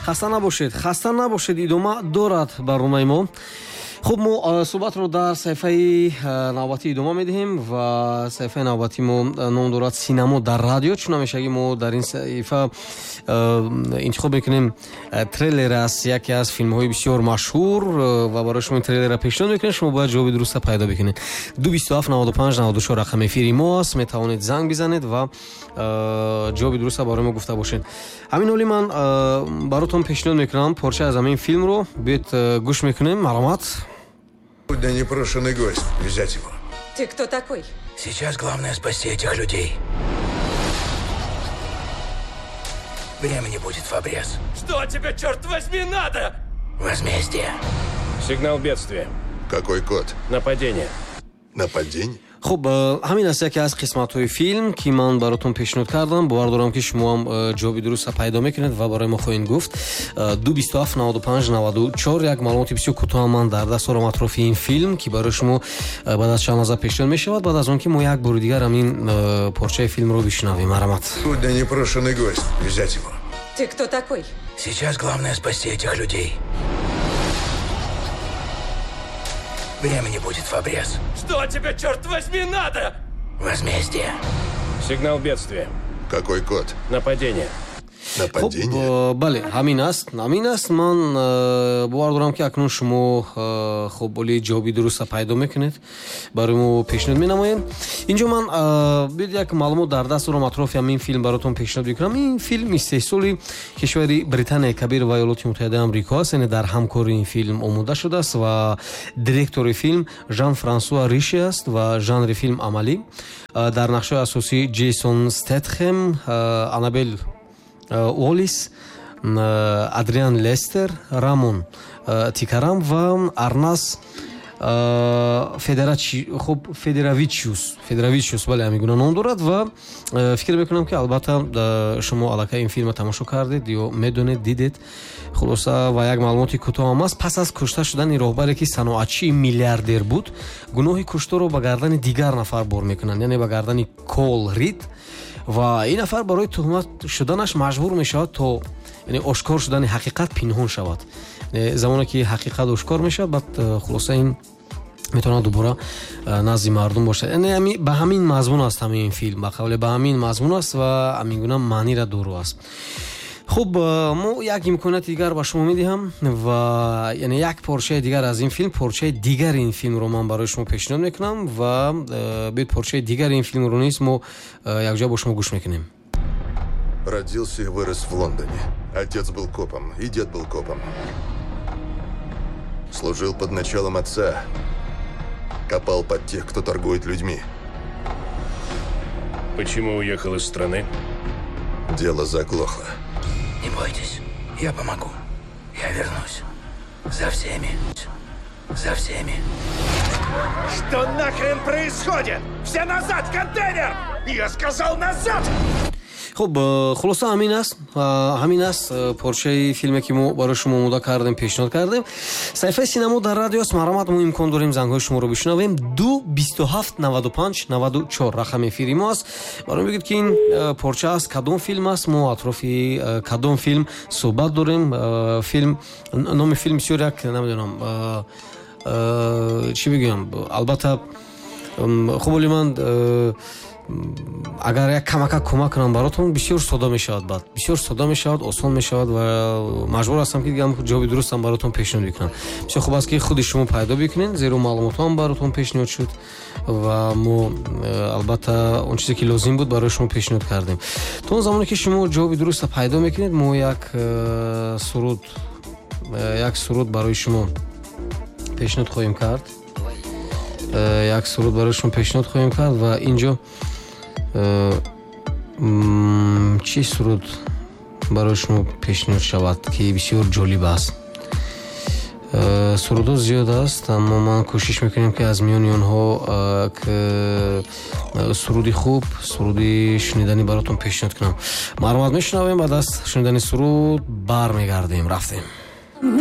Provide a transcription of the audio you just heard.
Хаста набошед, хаста набошед, идома дорад барномаи мо. Хуб, мо суҳбатро дар саҳифаи навбатӣ идома медиҳем ва саҳифаи навбатии мо ном дорад «Синамо дар радио». Чун ҳамешагӣ мо дар ин саҳифа интихоб мекунем трейлер аз яке аз филмҳои бисёр машҳур ва барои шумо ин трейлерро пешниҳод мекунем. Шумо бояд ҷавоби дурустро пайдо бикунед. 227 95 94 рақами эфири мо аст. Метавонед занг бизанед ва ҷавоби дурустро барои мо гуфта бошед. Ҳамин ҳоли ман баротон пешниҳод мекунам порча аз ҳамин филмро. Биёед, гӯш мекунем. Марҳамат. Сегодня непрошенный гость. Взять его. Ты кто такой? Сейчас главное спасти этих людей. Времени будет в обрез. Что тебе, черт возьми, надо? Возмездие. Сигнал бедствия. Какой код? Нападение. Нападение? Хуб, ҳамин аст яке аз қисматҳои филм, ки ман баротон пешниҳод кардам. Бовар дорам, ки шумо ҳам ҷавоби дурустро пайдо мекунед ва барои мо хоҳед гуфт. 227 95 94. Як маълумоти бисёр кӯтоҳ ман дар даст дорам атрофи ин филм, ки барои шумо баъд аз чанд лаҳза пешниҳод мешавад, баъд аз он ки мо як бори дигар ҳамин порчаи филмро бишнавем. Марҳамат. Сегодня непрошенный гость. Взять его. Ты кто такой? Сейчас главное спасти этих людей. Времени будет в обрез. Что тебе, черт возьми, надо? Возмездие. Сигнал бедствия. Какой код? Нападение. Нападение? Хуб, бале, ҳамин аст, ҳамин аст. Ман бовар дорам, ки акнун шумо хуб оли ҷавоби дурустро пайдо мекунед, барои мо пешниҳод менамоем. Инҷо ман биёед, як маълумот дар даст дорам атрофи ҳамин филм баротон пешниҳод мекунам. Ин филм истеҳсоли кишвари Британияи Кабир ва Иёлоти Муттаҳидаи Амрико аст, яъне дар ҳамкории ин филм омода шудааст ва директори филм Жан Франсуа Риши аст ва жанри филм амалӣ. Дар нақшҳои асосӣ Ҷейсон Стетхем, Анабел Уоллис, Адриан Лестер, Рамон Тикарам ва Арнас хуб, Федеравичиус, бале, ҳамин гуна ном дорад. Ва фикр мекунам, ки албатта шумо аллакай ин филмро тамошо кардед ё медонед, дидед. Хулоса, ва як маълумоти кӯтоҳ ҳам аст. Пас аз кушта шудани роҳбаре, ки саноатчии миллиардер буд, гуноҳи кушторро ба гардани дигар нафар бор мекунанд, яъне ба гардани Кол Рид, ва ин нафар барои туҳмат шуданаш маҷбур мешавад то, яъне, ошкор шудани ҳақиқат пинҳон шавад. Замоне ки ҳақиқат ошкор мешавад, баъд хулоса ин метавонад дубора назди мардум бошад. Яъне ба ҳамин мазмун аст ҳамин филм, ба қавле ба ҳамин мазмун аст ва ҳамин гуна маънира дору аст. Хуб, мо як имконияти дигар ба шумо медиҳам ва яъне як порчаи дигар аз ин филм, порчаи дигари ин филмро ман барои шумо пешниҳод мекунам ва биёед, порчаи дигари ин филмро низ мо якҷоя бо шумо гӯш мекунем. Родился и вырос в Лондоне. Отец был копом, и дед был копом. Служил под началом отца. Копал под тех, кто торгует людьми. Почему уехал из страны? Дело заглохло. Не бойтесь, я помогу. Я вернусь. За всеми. За всеми. Что нахрен происходит? Все назад, контейнер! Я сказал назад! Хуб, хулоса, ҳамин аст, ҳамин аст порчаи филме, ки мо барои шумо омода кардем, пешниҳод кардем. Саҳифаи «Синамо дар радио» аст. Марҳамат, мо имкон дорем зангҳои шуморо бишнавем. 227 95 94 рақами эфири мо аст. Барои бигӯед, ки ин порча аз кадом филм аст, мо атрофи кадом филм суҳбат дорем. Филм, номи филм бисёр як, намедонам, чӣ бигӯям, албатта хуб, оли ман агар як камака кӯмак кунам баротон, бисёр сода мешавад, баъд бисёр сода мешавад, осон мешавад ва маҷбур ҳастам, ки дигам ҷавоби дурустам баротон пешниҳод бикунам. Бисёр хуб аст, ки худи шумо пайдо бикунед, зеро маълумотҳоам баротон пешниҳод шуд ва мо албатта он чизе, ки лозим буд, барои шумо пешниҳод кардем. То он замоне ки шумо ҷавоби дурустро пайдо мекунед, мо як суруд барои шумо пешниҳод хоҳем кард, як суруд барои шумо пешниҳод хоҳем кард. Ва инҷо чӣ суруд барои шумо пешниҳод шавад, ки бисёр ҷолиб аст? Сурудҳо зиёд аст, аммо ман кӯшиш мекунем, ки аз миёни онҳо суруди хуб, суруди шуниданӣ баротон пешниҳод кунам. Марҳамат, мешунавем, баъд аз шунидани суруд бармегардем. Рафтем.